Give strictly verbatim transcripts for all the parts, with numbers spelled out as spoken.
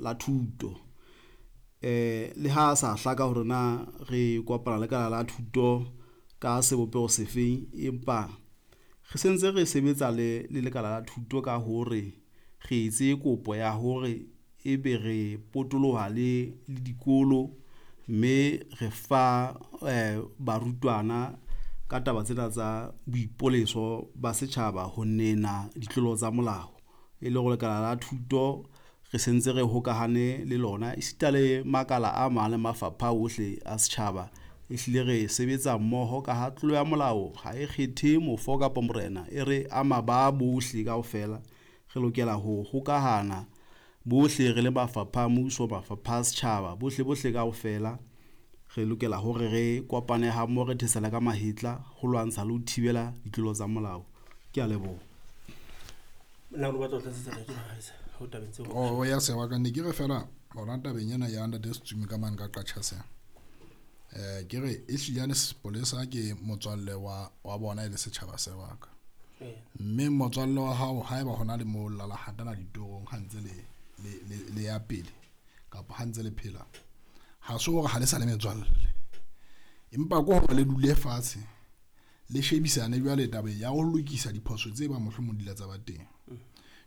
la thuto. Eh le ha sa hlaka hore na re kopana lekala la thuto ka sebopeho sefeng, empa re sentse re sebetsa le le lekala la thuto ka hore re etse kopo ya hore ebe re potoloha le le dikolo, mme re fa eh barutwana ka taba tsena tsa boipoleso ba setjhaba ho nena ditlolo tsa molao. E le hore lekala la thuto re sentse re hokahane le lona esita le makala a mang le mafapha ohle a setjhaba. E hlile re sebetsa mmoho ka ha tlolo ya molao ha e kgethe mofo kapa morena, e re ama ba bohle kaofela. Re lokela ho hokahana bohle re le mafapha a mmuso, mafapha a setjhaba, bohle bohle kaofela re lokela hore re kopane ha mmoho, re thetsana ka mahetla ho lwantsha le ho thibela ditlolo tsa molao. Ke a leboha. Na o batla ho tlatsetsa ntate Makgaetsa ho tabeng tseo? O ya sewa ka ne ke re fela hona tabeng ena ya ntate Setsumi ka mane ka Qachase. Eh ke re e hlile sepolesa ke motswalle wa wa bona e le setjhaba se wa ka. Mme motswalle wa hao haeba hona le mo lala hatana ditorong ha ntse le le le, le ya pele kapa ha ntse le phela, ha se hore ha le sa le metswalle, empa ke hore le dule fatshe le shebisane jwale taba ya ho lokisa diphoso tse ba mohlomong di la tsa ba teng.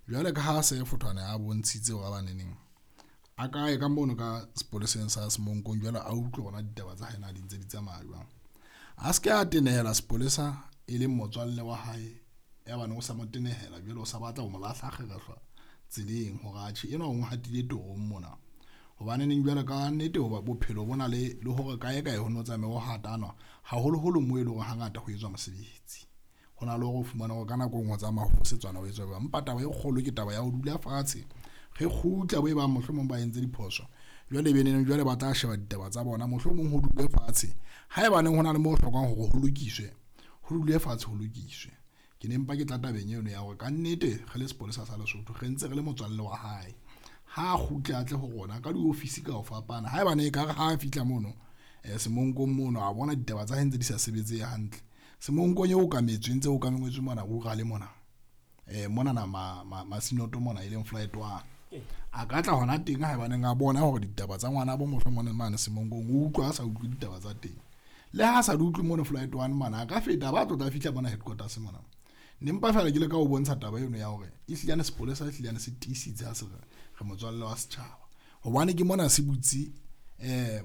Jwale ka ha se Fothwane a bontshitse hore ba neneng a kae ka mono ka sepoleseng sa Semonkong, jwale a utlwe hona ditaba tsa hae na di ntse di tsamaya jwang. A se ke a tenehela sepolesa e leng motswalle wa hae, ya bane o sa mo tenehela jwale o sa batla ho mo lahla kgerehlwa tseleng hore atjhe enwa o hatile torong mona. Hobane neng jwale ka nnete hoba bophelo bona le le hore kae kae ho no tsamaye ho hatanwa haholoholo moo e leng hore hangata ho etswa mosebetsi. Ho na le hore o fumane hore ka nako e nngwe ho tsamaya ho fosetswana ho etswa jwang. Empa taba e kgolo ke taba ya ho dula fatshe re kgutla bo e bang mohlomong ba entse diphoso, jwale be neng jwale ba tla sheba ditaba tsa bona, mohlomong ho dule fatshe. Haebaneng ho na le moo ho hlokang hore ho lokiswe, ho dule fatshe ho lokiswe. Ke ne mpa ke tla tabeng eno ya hore kannete re le sepolesa sa Lesotho re ntse re le motswalle wa hae. Ha a kgutle a tle ho rona ka diofisi ka ho fapana. Haebane ekare ha a fihla mono eh Semonkong mono a bona ditaba tsa hae ntse di sa sebetse hantle, Semonkong eo okametswe ntse o okametswe mona rural mona eh mona na ma, ma, Masinoto mona e leng flight one, a ka tla hona teng haebaneng a bona hore ditaba tsa ngwana bo mohlomong mane Semonkong o utlwa a sa utlwe ditaba tsa teng. Le ha sa di utlwe mono flight one mona a ka feta ba tlo tla fihla mona headquarters mona. Ne mpa fela ke le ka o bontsha taba eno ya hore e hlile sepolesa e hlile se tiisitse ha se re re motswalle wa setjhaba, hobane ke mona se butse eh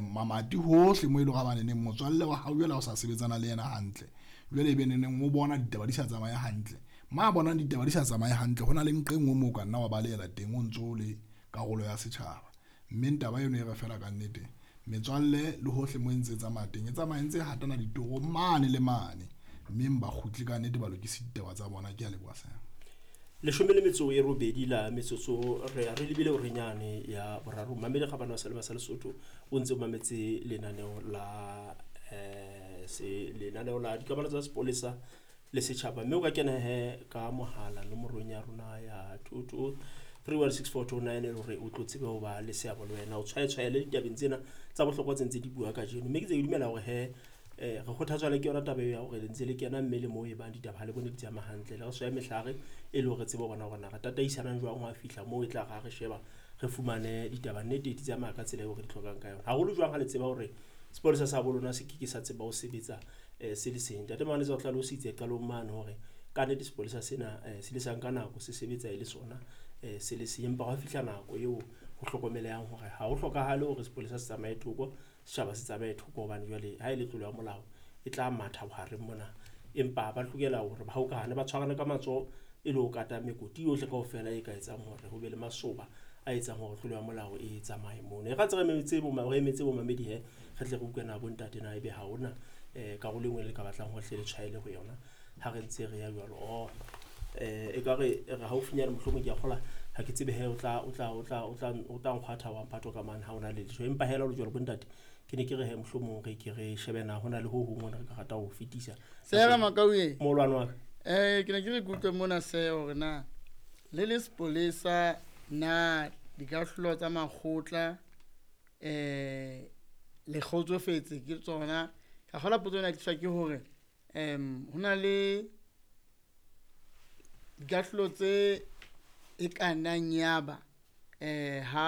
mamati hohle mo e leng hore ba neng motswalle wa hao jwale ha o sa sebetsana le yena hantle, jwale ebe neneng o bona ditaba di sa tsamaye hantle. Ma bonang ditaba di sa tsamaye hantle, ho na le nqe nngwe moo ka nna wa balehela teng o ntso le karolo ya setjhaba. Mme taba eno e re fela ka nnete metswalle le hohle mo e ntse tsamaya teng e tsamaya ntse hatana ditoro mane le mane, mme ba kgutle ka nnete ba lokise ditaba tsa bona. Ke a leboha sena. Leshome le metso e robedi la metsotso re re lebile orenyane ya boraro. Mamedi Kgabane wa Selema sa Lesotho o ntse o mametse lenaneo la eh se lenaneo la dikamano tsa sepolesa le setjhaba, mme o ka kena he ka mohala nomorong ya rona ya two two three one six four two nine e le hore o tlo tsebe ho ba le seabo le wena, o tshwaetshwaele ditabeng tsena tsa bohlokwa tse ntse di bua kajeno. Mme ke tse ke dumela hore he eh re kgothatswa le ke yona taba ya hore le ntse le kena mme le moo e bang ditaba ha le bone di tsamaya hantle, le re swaya mehlare e le hore tsebe ho bona hore na re tataisanang jwang ho a fihla moo e tla ra re sheba re fumane ditaba nnete di tsamaya ka tsela eo re di hlokang ka yona. Haholo jwang ha le tseba hore sepolesa sa bo lona se ke ke sa tseba ho sebetsa eh se le seng. Ntate Manetsa o hlalositse qalong mane hore ka nnete sepolesa sena eh se le sang ka nako se sebetsa e le sona eh se le seng, empa ha fihla nako eo ho hlokomelehang hore ha ho hlokahale hore sepolesa se tsamaye thoko, setjhaba se tsamaye thoko, hobane jwale ha e le tlolo ya molao e tla matha bohareng mona. Empa ba lokela hore ba hokahane, ba tshwarane ka matsoho e le ho kata mekoti yohle kaofela e ka etsang hore ho be le masoba a etsang hore tlolo ya molao e tsamaye mono. E re ntse re emetse bo re emetse bo mamedi he, re tle re utlwe na bo ntate na ebe ha hona eh karolo e nngwe le ka batlang hore hle le tshwaele ho yona ha re ntse re ya jwalo. Oh eh ekare re haufinyane mohlomong ke a kgola ha ke tsebe he o tla o tla o tla o tla o tla nkgwatha wa mphato ka mane ha ona le letho. Empa hela jwalo bo ntate ke ne ke re he mohlomong re ke re shebe na hona le ho hong hona re ka rata ho fetisa. Sera Makauye molwane wa ka. Eh ke ne ke re kutlwe mona se hore na le le sepolesa na dikahlolo tsa makgotla eh le kgotsofetse ke tsona. Ka kgola potso ena ke tliswa ke hore em hona le dikahlolo tse e ka nnang ya ba Eh ha